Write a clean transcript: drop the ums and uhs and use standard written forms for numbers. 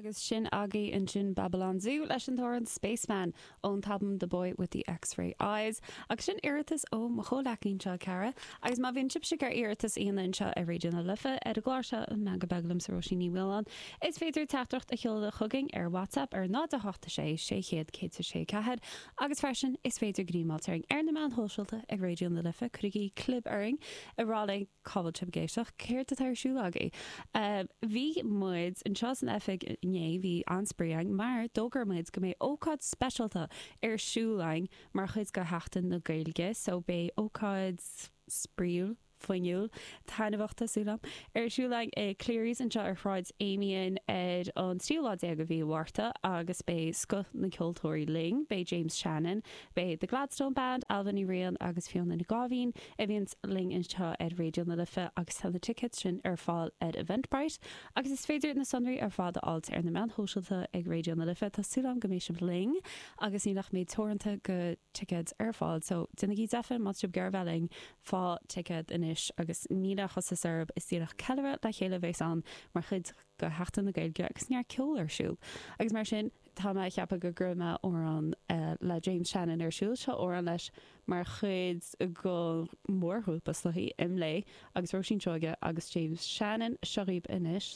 Agus sin agaibh ansin Babylon Zoo leis an t-amhrán Spaceman ón t-albam The Boy With The X-Ray Eyes. Agus sin iarratas ó mo chomhleacaí anseo, Cara. Agus má bhíonn sibhse ag iarraidh iarratas a dhéanamh anseo ar Raidió na Life ar an gclár seo, An Meangadh Beag liomsa Róisín Ní Mhaoláin, is féidir teachtaireacht a sheoladh chugainn ar WhatsApp ar 0 8 6 600 106 4 agus freisin is féidir gníomháilt orainn ar na meáin shóisialta ag Raidió na Life. Cuirigí clib orainn ag rá linn cá bhfuil sibh ag éisteacht, céard atá ar siúl agaibh? Bhí muid anseo san oifig inné, bhí an-spraoi againn mar d'fhógair muid go mbeidh ócáid speisialta ar siúl againn mar chuid de Sheachtain na Gaeilge so beidh ócáid spraíúil, fuinniúil, taitneamhach tá súil agam, ar siúl againn i Cleary's anseo ar Shráid Amiens ar an tríú lá déag de mhí Mhárta agus beidh scoth na gceoltóirí linn, beidh James Shannon, beidh The Gladstone Band, Ailbhe Ní Riain agus Fiona Nic Gáibhín, a bhíonns linn anseo ar Raidió na Life agus tá na ticéid sin ar fáil ar Eventbrite agus is féidir na sonraí ar fad a fháilt ar na meáin shóisialta ag Raidió na Life. Tá súil agam go mbeidh sibh linn agus níl ach méid teoranta de ticéid ar fáil so déanaigí deifir má tá sibh ag iarraidh bheith linn, faigh ticéad anois agus níl aon chostas oraibh, is díreach ceiliúradh le chéile a bheas ann mar chuid de Sheachtain na Gaeilge agus neart ceoil ar siúl agus mar sin tá mé ag ceapadh go gcuirfidh mé amhrán le James Shannon ar siúl. Seo amhrán leis mar chuid den mhórghrúpa is dóichí, IMLÉ agus Róisín Seoige agus James Shannon. Seo dhaoibh anois.